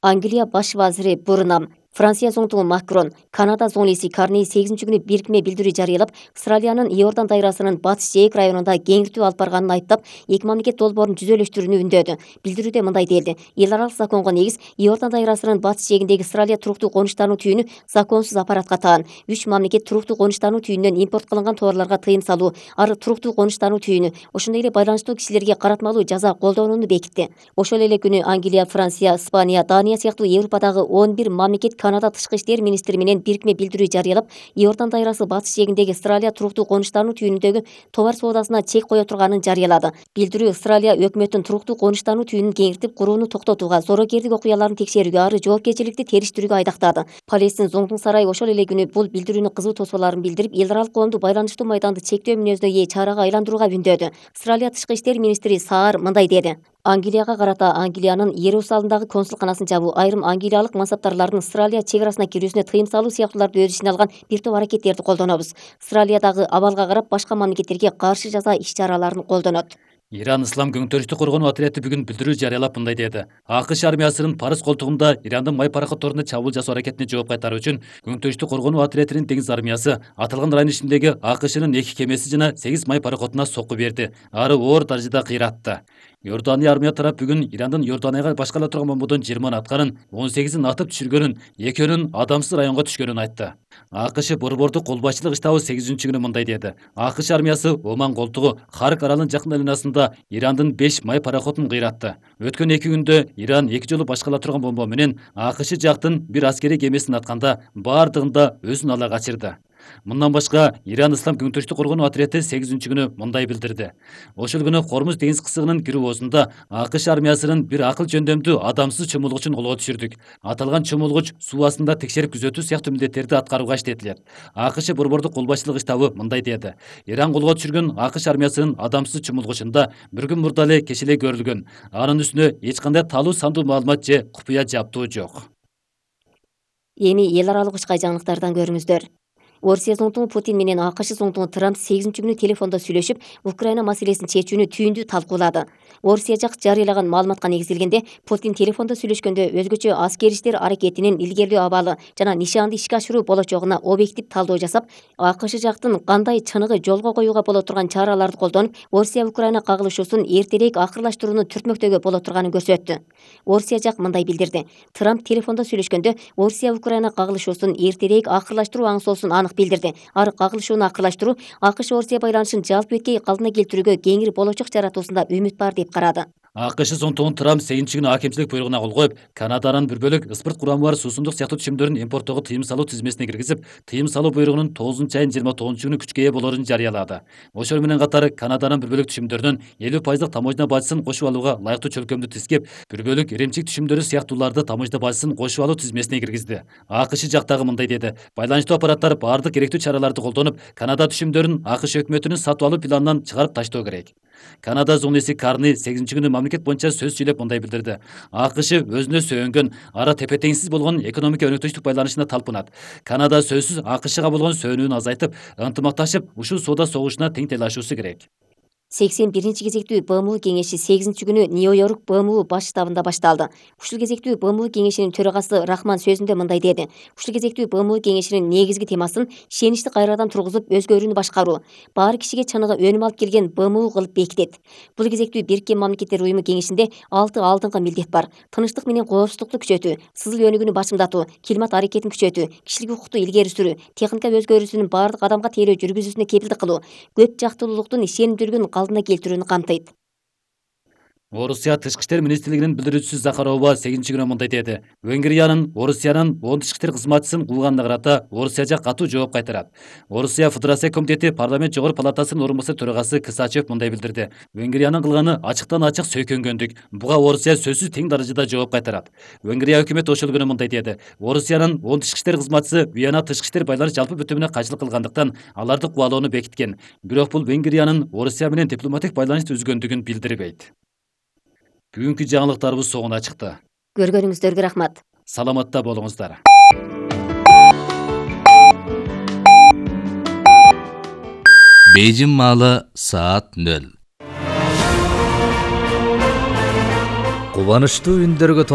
Англия баш вазири Бурнам, Франция зоңтугу Макрон, Канада зоңлиси Карни 8 күнү бирикме билдирүү жарыялап, Австралиянын Иордан дайрасынын батыш жээк районунда кеңиртүү алып барганын айыптап, эки мамлекет долбоорун жүзөлөштүрүүнү үндөдү. Билдирүүдө мындай делди: эл аралык законго негиз Иордан дайрасынын батыш жээгиндеги Австралия туруктуу конуштануу түйүнү законсуз аппаратка таан. 3 мамлекет туруктуу конуштануу түйүнүнөн импорт кылынган товарларга тыйым салуу, ары туруктуу конуштануу түйүнү, ошондой эле байланыштуу кишилерге каратмалуу жаза колдонууну бекитти. Ошол эле күнү Англия, Франция, Испания, Дания сыяктуу Европадагы 11 мамлекет Канада тышкы иштер министри менен бирикме билдирүү жарыялап, Иордан дайрасы батыш жээгиндеги Австралия туруктуу конуштануу түйүнүндөгү товар соодасына чек кое турганын жарыялады. Билдирүү Австралия өкмөттүн туруктуу конуштануу түйүнүн кеңиртип курууну токтотууга, зоорокерлик окуяларын текшерүүгө, ары жоопкерчиликти териштирүүгө айдактады. Палестин зоңтуң сарайы ошол эле күнү бул билдирүүнү кызуу тосууларын билдирип, эл аралык коомду байланыштуу майданды чектөө мүнөзүнө ээ чарага айландырууга үндөдү. Австралия тышкы иштер министри Саар мындай деди: Англияга карата Англиянын Иерусалимдагы консулканасын жабуу, айрым англиялык мансаптарлардын Австралия чек арасына кирүүсүнө тыйым салуу сыяктууларды өз ичине алган бир топ аракеттерди колдонобуз. Австралиядагы абалга карап башка мамлекеттерге каршы жаза иш-чараларын колдонот. Иран Ислам көңтөрүштү коргонуу отряды бүгүн билдирүү жарыялап мындай деди: АКШ армиясынын Парыз колтугунда Ирандын май пароходдоруна чабуул жасоо аракетине жооп кайтаруу үчүн көңтөрүштү коргонуу отрядынын деңиз армиясы аталган район ичиндеги АКШнын 2 кемеси жана 8 май пароходуна сокку берди. Ары оор даражада кыйратты. Иордания армия тарап бүгүн Ирандын Иорданияга башкала турган бомбодон 20 атканын, 18-ин атып түшүргөнүн, 2-өн адамсыз районго түшкөнүн айтты. АКШ борбордук колбасчылык штабы 8-күнү мындай деди: АКШ армиясы Оман колтугу Харк аралынын жакын айланасында Ирандын 5 май пароходун кыйратты. Өткөн 2 күндө Иран 2 жолу башкала турган бомба менен АКШ жактын бир аскерий кемесин атканда, баардыгында өзүн ала качырды. Мындан башка Иран Ислам көңтөрүштү коргонуу отряды 8-күнү мындай билдирди: ошол күнү Кормуз деңиз кысыгынын кирүүосунда АКШ армиясынын бир акыл жөндөмдүү адамсыз чомулгучун колго түшүрдүк. Аталган чомулгуч суу астында текшерип күзөтүү сыяктуу милдеттерди аткарууга иштетилет. АКШ борбордук колбасчылык штабы мындай деди: Иран колго түшүргөн АКШ армиясынын адамсыз чомулгучунда bir күн мурда эле кеч эле көрүлгөн. Анын үстүнө эч кандай талуу сандуу маалымат же купуя жаптуу жок. Эми эл аралык учкай жаңылыктардан көрүңүздөр. Орусия зоңтугу Путин менен АКШ зоңтугу Трамп 8-күнү телефондо сүйлөшүп, Украина маселесин чечүүнү түйүндүү талкуулады. Орусия жак жарыялаган маалыматка негизделгенде, Путин телефондо сүйлөшкөндө өзгөчө аскер иштер аракетинин илгерлөө абалы жана нишаанды ишке ашыруу болочогуна объектив талдоо жасап, АКШ жактын кандай чыныгы жолго коюуга боло турган чараларды колдонуп, Орусия-Украина кагылышуусун эртерээк акырлаштырууну түртмөктөгө боло турганын көрсөттү. Орусия жак мындай билдирди: Трамп телефондо сүйлөшкөндө Орусия-Украина кагылышуусун эртерээк акырлаштыруу аңсоосун анык билдирди. Ары кагылышууну акырлаштыруу АКШ-Орусия байланышын жалпы өткөй калдына келтирүүгө кеңири болочок жаратуусунда үмүт бар деп карады. АКШ зоңтугун Трамп 8-күнү акимчилик буйругуна кол коюп, Канаданын бир бөлүк ыспырт курамы бар суусундук сыяктуу түшүмдөрүн импорттоого тыйым салуу тизмесине киргизип, тыйым салуу буйругунун 9-айынын 29-күнү күчкө ээ болоорун жарыялады. Ошол менен катары Канаданын бир бөлүк түшүмдөрүнөн 50% таможня бажысын кошуп алууга ылайыктуу чөлкөмдү тизкеп, бир бөлүк иримчик түшүмдөрү сыяктууларды таможня бажысын кошуп алуу тизмесине киргизди. АКШ жактагы мындай деди: байланыштуу аппараттар баардык керектүү чараларды колдонуп, Канада түшүмдөрүн АКШ өкмөтүнүн сатып алуу планынан чыгарып таштоо керек. Канада зоңлиси Карни 8-күнү мамлекет боюнча сөз сүйлөп мындай билдирди: АКШ өзүнө сөөнгөн, ара тепе-теңсиз болгон экономика өнөктөштүк байланышына талпынат. Канада сөзсүз АКШга болгон сөөнүүнү азайтып, ынтымакташып, ушул соода согушуна тең тейлашуусу керек. 81 кезектүү БМУ кеңеши 8-күнү Нью-Йорк БМУ баш штабында башталды. Ушул кезектүү БМУ кеңешинин төрагасы Рахман сөзүндө мындай деди: ушул кезектүү БМУ кеңешинин негизги темасын ишеничти кайрадан тургузуп, өзгөрүүнү башкаруу, баары кишиге чыныгы өнүм алып келген БМУ кылып бекитет. Бул кезектүү Бириккен Мамлекеттер Уюму кеңешинде 6 алдыңкы милдет бар: тынчтык менен коопсуздукту күчөтүү, сызыл өнүгүүнү башымдатуу, климат аракетин күчөтүү, кишилик укукту илгери сүрүү, техника өзгөрүүсүнүн баардык адамга тейлөө жүргүзүүсүнө кепилдик кылуу, көп жактылуулуктун ишенимдүүлүгүн калдына келтирүүнү камтыйт. Орусия тышкы иштер министрлигинин билдирүүчүсү Захарова 8-күнү мындай деди: Венгриянын Орусиянын 10 тышкы иштер кызматчысын кууганына карата Орусия жак катуу жооп кайтарат. Орусия Федерация комитети парламент жогору палатасынын орун басары төрагасы Кысачев мындай билдирди: Венгриянын кылганы ачыктан ачык сөйкөнгөндүк. Буга Орусия сөзсүз тең даражада жооп кайтарат. Венгрия өкмөтү ошол күнү мындай деди: Орусиянын 10 тышкы иштер кызматчысы Виена тышкы иштер байланыш жалпы бүтүмүнө кайшылык кылгандыктан аларды кубалоону бекиткен. Бирок бул Венгриянын Орусия менен дипломатик байланыш түзгөндүгүн билдирбейт. Бүгүнкү жаңылыктарыбыз соңуна чыкты. Көргөнүңүздөргө рахмат. Саламатта болуңуздар. Бейжин маалы саат 0. Кубанычтуу үндөргө